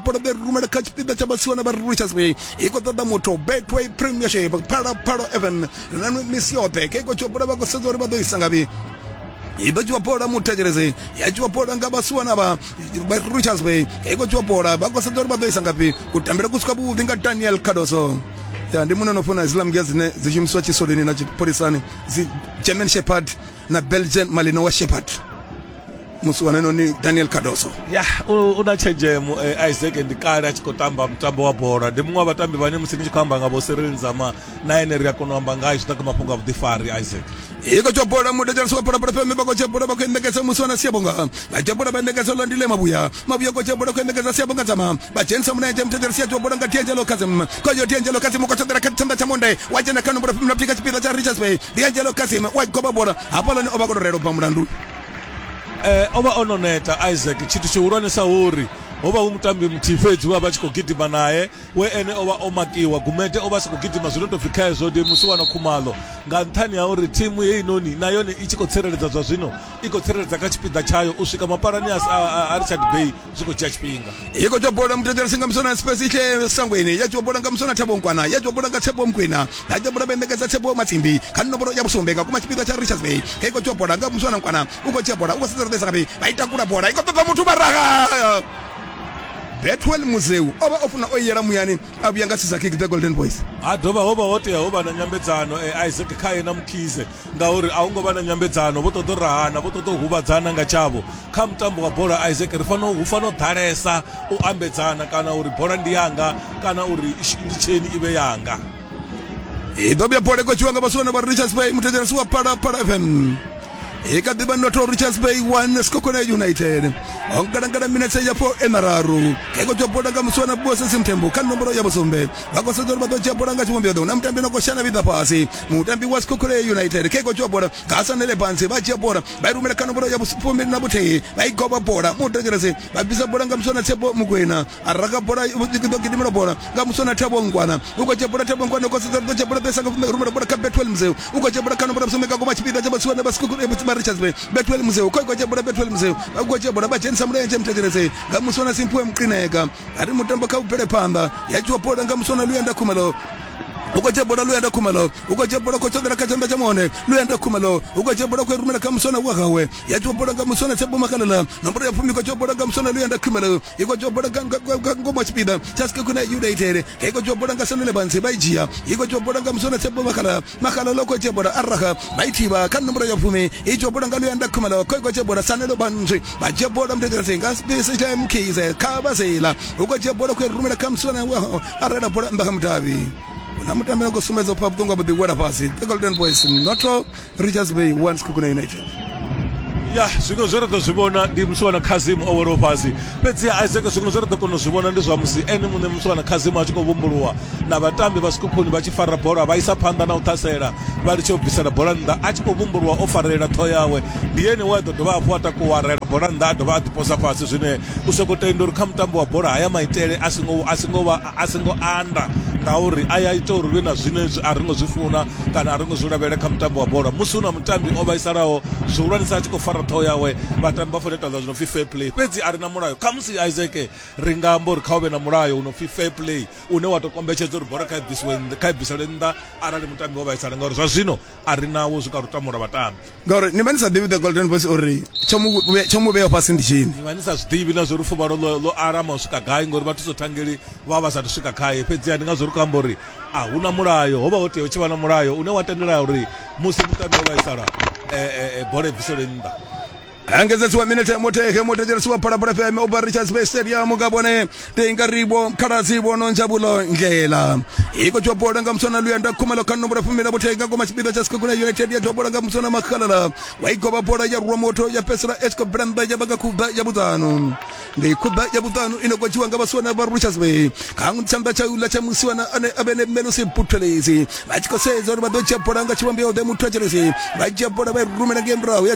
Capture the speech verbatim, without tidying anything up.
bola vha rumela kha tshipiḓa tsha vhasiwana vha Richards Bay. I khou ṱoḓa muthu Betway Premiership Phalaphala F M na misi yoṱhe. Kha i khou dzhiwa bola vha khou sedza uri vha ḓo isa ngafhi. I ḓo dzhiwa bola muthetshelezi, ya dzhiwa bola nga vhasiwana vha Richards Bay. I khou dzhiwa bola vha khou sedza uri vha ḓo isa ngafhi. Kutambele ku si kwavhuḓi nga Daniel Cardoso. Ya ndi muno no funa Islam ngia dzine dzi shumiswa tshisoleni na tshipholisani, dzi German Shepherd na Belgian Malinois Shepherd. Musiwana noni Daniel Cardoso. Ya u na tshenzhemo eh, Isaac ndi kale a tshi khou tamba mutambo wa bola. Ndi muṅwe wa vhatambi vhane musi ni tshi khou amba nga vho Cyril Nzama na ene ri a kona u amba ngayo zwi ḓa kha mafhungo a vhuḓifari. Isaac i khou dzhia bola mudedzelisi wa Phalaphala F M vha khou dzhia bola vha khou endekedza musiwana Siyabonga. Vha dzhia bola vha endekedza Lwandile Mabuya. Mabuya khou dzhia bola khou endekedza Siyabonga Nzama. Vha dzhenisa mulenzhe muthetshelisi ya dzhia bola nga D'Angelo Kazim. Khoyo D'Angelo Kazim u khou tshoṱela kha tshanḓa tsha monde wa dzhena kha nomboro fumi na vhuthihi kha tshipiḓa tsha Richards Bay. D'Angelo Kazim wa goba bola hafhaḽani o vha khou tou rela u bva mulandu. Eh, o vha o no neta Isaac. Tshithu tshihulwanesa uri ho vha hu mutambi muthihi fhedzi we a vha tshi khou gidima naye, we ene o vha o makiwa. Gumede o vha sa khou gidima zwino tou pfi khezwo ndi musiwana Khumalo, nga nṱhani ha uri thimu heinoni na yone i tshi khou tsireledza zwa zwino, i khou tsireledza kha tshipiḓa tshayo u swika mapalani a, a, a Richard Bay zwi khou dzhia tshifhinga. I khou dzhia bola muthetshelesi nga muswana Spesihle Sangweni. Ya dzhia bola nga muswana Thabo Nkwana. Ya dzhia bola nga Tshepo Mkwena. Ya dzhia bola vha endekedza Tshepo Matsimbi kha nomboro ya vhusumbe nga kuma tshipiḓa tsha Richards Bay. I khou dzhia bola nga muswana Nkwana. U khou dzhia bola u khou sedza uri ngafhi. Vha i takula bola i khou ṱoḓa muthu vharaga. Betwell Muzeu o vha o funa o yela muyani a vhuya nga scissor kick the Golden Boys. Ha dovha ho vha ho tea ho vha na nyambedzano eh, Isaac khaye na Mkhize, ngauri a hu ngo vha na nyambedzano, vho ṱoḓa u rahana, vho ṱoḓa u huvhadzana nga tshavho. Kha mutambo wa bola Isaac ri fanela hu fanela u ḓalesa u ambedzana, kana uri bola ndi yanga kana uri nditsheni i vhe yanga. I ḓo vhuya bola i khou dzhiwa nga vhasiwana vha Richards Bay. Muthetshelesi wa Phalaphala F M i kha ḓivha noto Richards Bay one Sekhukhune United. Ho ngalangala minetse ya four mararu. I khou dzhia bola nga musiwana Bosesi Mthembu kha nomboro ya vhusumbe. Vha khou sedza uri vha ḓo dzhia bola nga tshivhumbeo. Na mutambi no khou shana vhiḓa fhasi. Mutambi wa Sekhukhune United kha i khou dzhia bola nga Sanele Bansi. Vha dzhia bola vha i rumela kha nomboro ya vhufumi na vhuthihi. Vha i goba bola muthetshelesi vha bvisa bola nga musiwana Tshepo Mukwena. A raga bola i ḓo gidimela bola nga musiwana Thabo Nkwana. U khou dzhia bola Thabo Nkwana u khou sedza uri ḓo dzhia bola ḓo isa nga rumela bola kha Betwell Muzeu. U khou dzhia bola kha nomboro ya vhusumbe nga ngoma tshipiḓa tsha vhasiwana vha Sekhukhune vha Richards Bay. Betwell Muzeu khou dzhia bola Betwell Muzeu vha khou dzhia bola vha dzhenisa mulenzhe muthetshelesi nga muswana Simphiwe Mqineka. Ari mutambo kha u bvele phanḓa. Ya dzhiwa bola nga muswana Luyanda Khumalo. U khou dzhia bola Luyanda Khumalo. U khou dzhia bola khou tshoṱela kha tshanḓa tsha monde Luyanda Khumalo. U khou dzhia bola khou rumela kha muswana wa gawe. Ya dzhiwa bola nga muswana Tshepo Makalala. Nomboro ya fumi khou dzhia bola nga muswana Luyanda Khumalo. I khou dzhia bola nga ngoma tshipiḓa tsha Sekhukhune United. I khou dzhia bola nga Sanele Bansi vha i dzhia. I khou dzhia bola nga muswana Tshepo Makalala. Makalala khou dzhia bola araha vha i thivha kha nomboro ya fumi. I dzhia bola nga Luyanda Khumalo. Khou dzhia bola Sanele Bansi vha dzhia bola muthetshelesi nga Spesihle Mkhize kha vhasela. U khou dzhia bola khou rumela kha muswana wa arela bola nnḓa kha mudavhi. Na mutambi no khou sumbedza u pfa vhuṱungu ha vhuḓi wela fhasi. The Golden Boys noto Richards Bay one Sekhukhune United. Ya zwiṅwe zwe ra ḓo zwi vhona ndi musiwana Kazim o welaho fhasi, fhedzi Isaac zwiṅwe zwe ra ḓo kona u zwi vhona ndi zwa musi ene muṋe musiwana Kazim a tshi khou vhumbuluwa na vhatambi vha Sekhukhune vha tshi fara bola vha isa phanḓa na u ṱhasela, vha litshe u bvisela bola nnḓa. A tshi khou vhumbuluwa o farelela ṱhoho yawe, ndi ene we a ḓo dovha hafhu a takuwa a rela bola nnḓa a dovha a ḓiposa fhasi. Zwine u sokou tenda uri kha mutambo wa bola haya maitele a singo a singo vha a singo anda, ngauri a ya ita uri vhe na zwine a ri ngo zwi funa kana a ri ngo zwi lavhelela kha mutambo wa bola. Musi hu na mutambi o vhaisalaho zwihulwanesa a tshi khou fara ṱhoho yawe, vhatambi vha fanela u ita zwi no pfi fair play, fhedzi a ri na mulayo. Khamusi Isaac ri nga amba uri kha hu vhe na mulayo u no pfi fair play une wa tou kombetshedza uri bola kha i bvisiwe kha i bviselwe nnḓa arali mutambi o vhaisala, ngauri zwa zwino a ri nawo zwi ka lutamo lwa vhatambi. Ngauri ni vha ni sa ḓivhi the Golden Boys uri tsho mu vhea fhasi ndi tshini. Ni vha ni sa zwi ḓivhi na zwa uri fuvhalo ḽo ḽo alama u swika gai, ngori vhathu thangeli vha vha sathu swika khaye. Fhedzi ndi ngazwo ri khou amba uri a hu na mulayo, ho vha ho tea hu tshi vha na mulayo une wa tendela uri musi mutambi o vhaisala eh, eh, bola i bviselwe nnḓa. Engedzedziwa minete muthehe muthetshelesi wa Phalaphala F M u bva Richards Bay Stadium nga vhone Tengaribo Khaladzi Vhono Njabulo Ndlela. I khou dzhia bola nga muswana Luyanda Khumalo kha nomboro fumi na vhuthihi nga ngoma tshipiḓa tsha Sekhukhune United. Ya dzhia bola nga muswana Makhalala wa i govha bola ya rwa muthu ya fhedzisela i tshi khou bvela nnḓa ya vha nga khuḓa ya vhuṱanu. Ndi khuḓa ya vhuṱanu ino khou dzhiwa nga vhasiwana vha Richards Bay kha tshanḓa tsha uḽa tsha musiwana ane a vhe ne Melusi Buthelezi. Vha tshi khou sedza uri vha ḓo dzhia bola nga tshivhumbeo ḓe muthetshelesi. Vha dzhia bola vha i rumela ngei murahu ya